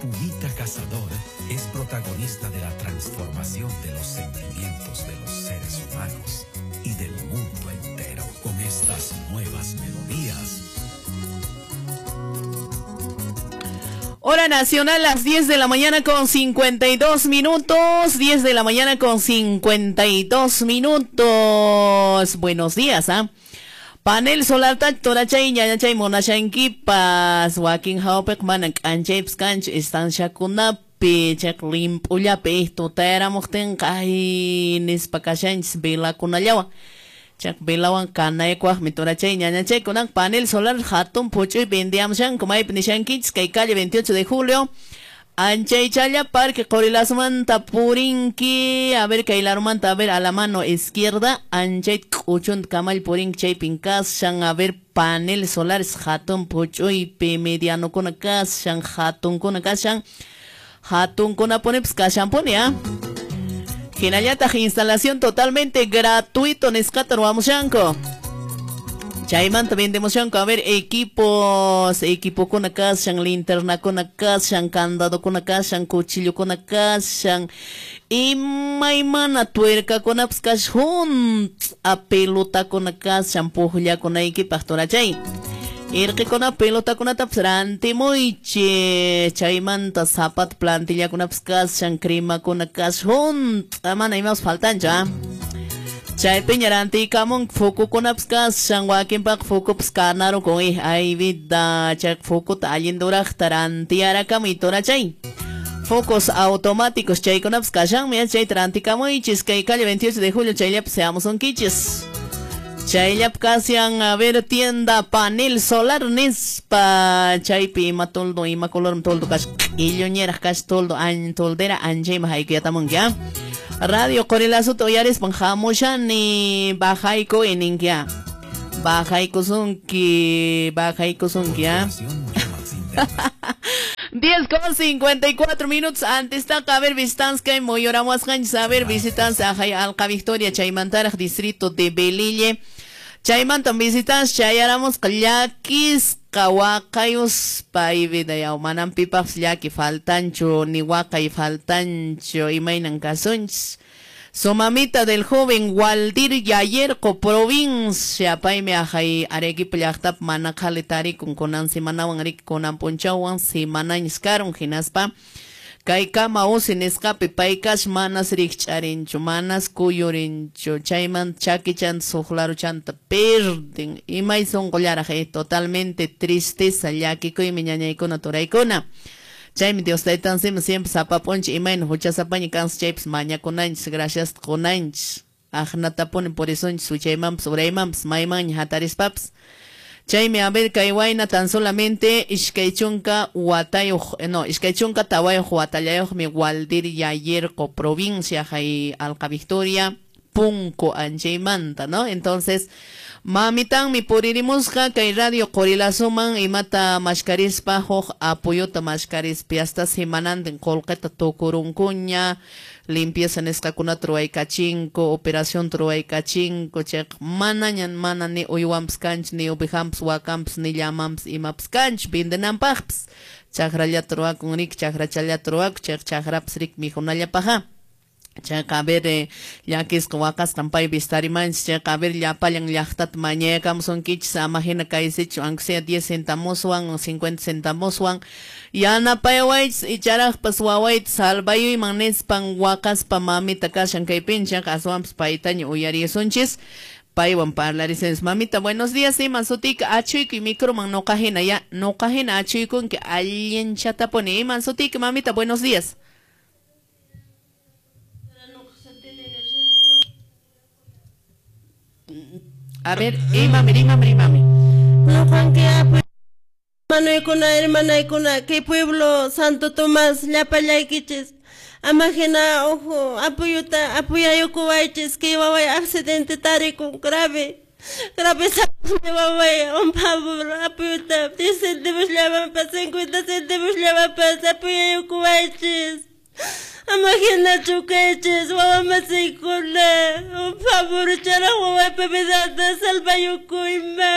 Pumita Cazador es protagonista de la transformación de los sentimientos de los seres humanos y del mundo entero con estas nuevas melodías. Hora nacional, las 10 de la mañana con 52 minutos. 10 de la mañana con 52 minutos. Buenos días, ¿ah? Panel solar torachay ñañachay monashankipas wakin hawpiq mana k'anchaypas kanchu estanciakunapi chayqa limp'ullapi tutayaramuqtinqa ay nispa kashanchis velakunallawan chayqa velawan kanaykuwaqmi torachay ñañachay kunan panel solar hatun phuch'uy vendiamushanku maypi nishankichis kay calle 28 de julio Anchaychalla Parque Qorilasmanta purinki, a ver kay larumanta, a ver a la mano izquierda, anchay k'uchunta kamal purinki chaypin kashan, a ver paneles solares hatun phuch'uypi medianokuna kashan, hatunkuna kashan, hatunkuna punipas kashanpuni, ¿ah? Hinallataq instalación totalmente gratuito nisqata ruwamushanku. Chaymanta vendemushanku, a ver, equipos, equipokuna kashan, linternakuna kashan, candadokuna kashan, cuchillokuna kashan, imaymana tuercakunapas kashan, hunt'a pelotakuna kashan, pukllakunaykipaq turachay. Irqikuna pelotakunatapas rantimuychis, chaymanta zapato plantillakunapas kashan, cremakuna kashan, hunt'a mana imapas faltanchu, ¿ah? Chaypiña rantiykamun focokunapas kashan, wakinpaq focopas kanarukun, ay vida, chay focota allin duraqta rantiyarakamuy turachay. Focos automáticos chaykunapas kashanmi, chayta rantikamuychis, kay calle 28 de julio chayllapi seamusunkichis. Chayllapi kashan, a ver, tienda panel solar nispa, chaypi ima toldo, ima color toldo kashan, illuñeraq kash toldo, toldera anchayman haykuyatamunki, ¿ah? Radio Qorilasota uyarispan hamushani bajayku ininki, ¿ah? Bajaykusunki, bajaykusunki, ¿ah? 10:54 minutos antes taqa, a ver, visitantes kay muyuramuwasqanchis, a ver, visitantes ajay Alqa Victoria chaymantaraq distrito de Belille. Chaymantan visitantes chayaramusqa llakisqa waqayuspa vida yaw manan pipaqpas llaki faltanchu ni waqay faltanchu imaynan kasunchis. Su mamita del joven Waldir Yayerco, provincia, paymi ajay Arequipa llaqtapi mana qhali tarikun kunan semanawan riki kunan p'unchawwan semanañas karun hinaspa kay kama usi nisqapi pay kash manas rikch'arinchu, manas kuyurinchu, chayman chakichanta suqlaruchanta perdin, imay sunqullaraq totalmente tristeza llakikuymi ñañaykuna turaykuna. Chaymi Dios taytansima siempre sapa p'unchay imayna huchasapaña kansi chaypas mañakunanchis, gracias qunanchis, aqnatapuni purisunchis wichaymanpas uraymanpas maymanña hatarispapas. Chaymi a ver kay wayna tan solamente iskay chunka watayuq, no, iskay chunka tawayuq watallayuqmi Waldir Yayerco, provincia hay Alqa Victoria, Punco anchaymanta, ¿no? Entonces, mamitanmi puririmusqa kay radio Qorilasuman imata mashkarispa huk apoyota mashkarispa hasta semanantin qullqita tukurunkuña, limpieza nisqakunata ruwaykachinku, operación ruwaykachinku, chayqa manaña mana ni uywanpas kanchu, ni ovejanpas, wakanpas, ni llamanpas, imapas kanchu vendenanpaqpas. Chakrallata ruwakun riki, chakrachallata ruwakun, chayqa chakrapas riki mikhunallapaqqa. Chayqa a ver, llakisqa waqasqan paypi estarimanchis, chayqa a ver llapallan llaqtata mañayakamusunkichis, ama hina kaysichu, aunque sea 10 centavoswan, 50 centavoswan, yanapayawaychis icharaqpas wawayta salvayuyman nispan waqaspa mamita kashan kaypin, chayqa aswanpas paytaña uyarisunchis. Paywan parlarisunchis. Mamita, buenos días, iman sutika achuykuy microman noqa hina, ya, noqa hina achuykunki allinchatapuni. Iman sutika, mamita, buenos días. A ver, imami, imami, imami. No, Juan, que hermano, hermana, que pueblo Santo Tomás, llapallaykichis, amajina, ojo, apoyuta, apoyayukuwaychis, que waway accidente tarikun grave, grave waway, un favor, apoyuta, 10 céntimos llamanpas, 50 céntimos llamanpas, apoyayukuwaychis. Amajina chukaychis, wawamasiykuna, un favor, chara wawaypa vidanta salvayukuyma,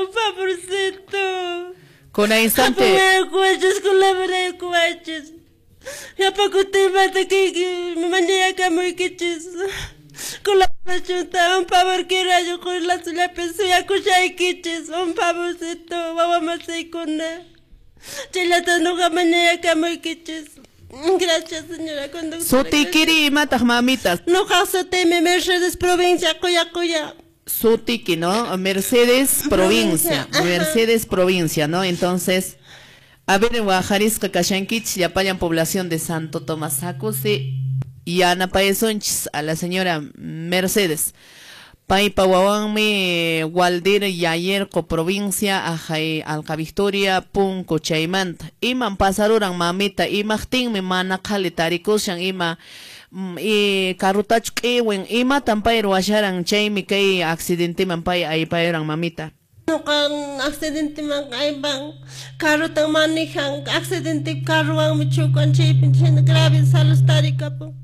un favorcito. Kuna instante. Apoyaykuwachis, colaboraykuwachis. Llapa kutimanta kayki mañayakamuykichis. Colaboracionta, un favor kirayo qoylazullapi suyakushaykichis, un favorcito wawamasiykuna. Chayllata nuqa mañayakamuykichis. Gracias, señora conductora. Sutikiri imataq mamita. Nuqa sutiymi Mercedes Provincia, Quya Quya. Sutiki, ¿no? Mercedes Provincia. Mercedes Provincia, ¿no? Entonces, a ver, waqarisqa kashankichis llapallan población de Santo Tomás Hakusi yanapayasunchis a la señora Mercedes. Paypa wawanmi Waldir Yayerco provincia ajay Alka Victoria Punco chaymanta. Iman pasaruran mamita, imaqtinmi mana qhali tarikushan ima y carrutachu q'iwin imatan pay ruwasharan chaymi kay accidenteman pay aypayuran mamita. Nuqa accidenteman aypan carrutan manejan accidente carruwanmi chukan chaypi chayna grave salud tarikapun.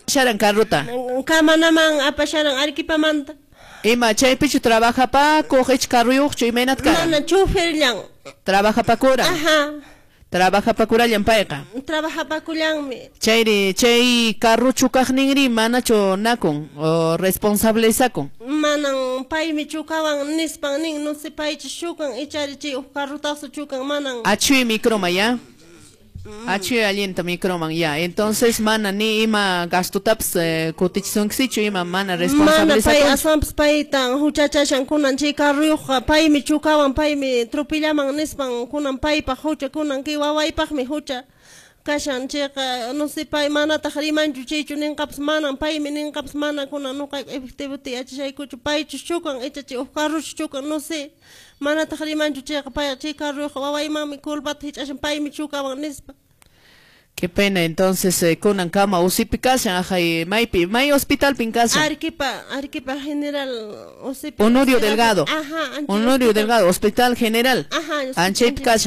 Sharan carruta. Kamanaman apasharan Arequipamanta. Ima chaypichu trabajapakuq ich carruyuqchu imaynat karan? Mana choferllan. Trabajapakuran. Ajá. Trabajapakurallan payqa. Trabajapakullanmi. Chayri chay carruchu kaqninri manachu nakun o responsabilizakun. Manan paymi chukawan nispan nin no sé paychu chukan ichari chay huk carrutazo chukan manan. Achuy microma ya. Achuy allinta microman ya. Entonces mana ni ima gastotapas kutichisunkichu ima mana Mana pay responsabilizakun. aswanpas paytan huchachashan kunan chay carruyuqqa paymi chukawan paymi tropillaman nispan kunan paypaq hucha kunan kay wawaypaqmi hucha kashan chayqa no sé pay manataq rimanchu chaychu ninqapas manan paymi ninqapas mana kunan nuqayku efectivota yachashaykuchu paychus chukan icha chay huk carruchu chukan no sé manataq rimanchu chayqa pay chay carruyuqqa wawaymanmi culpata hich'ashan paymi chukawan nispa. Qué pena, entonces kunan kama usipi kashan ajay maypi may hospitalpin kashan. Arequipa, Arequipa General Usipi. Honorio Delgado. Ajá, Honorio Delgado, Hospital General. Ajá, Anchaypi kashan.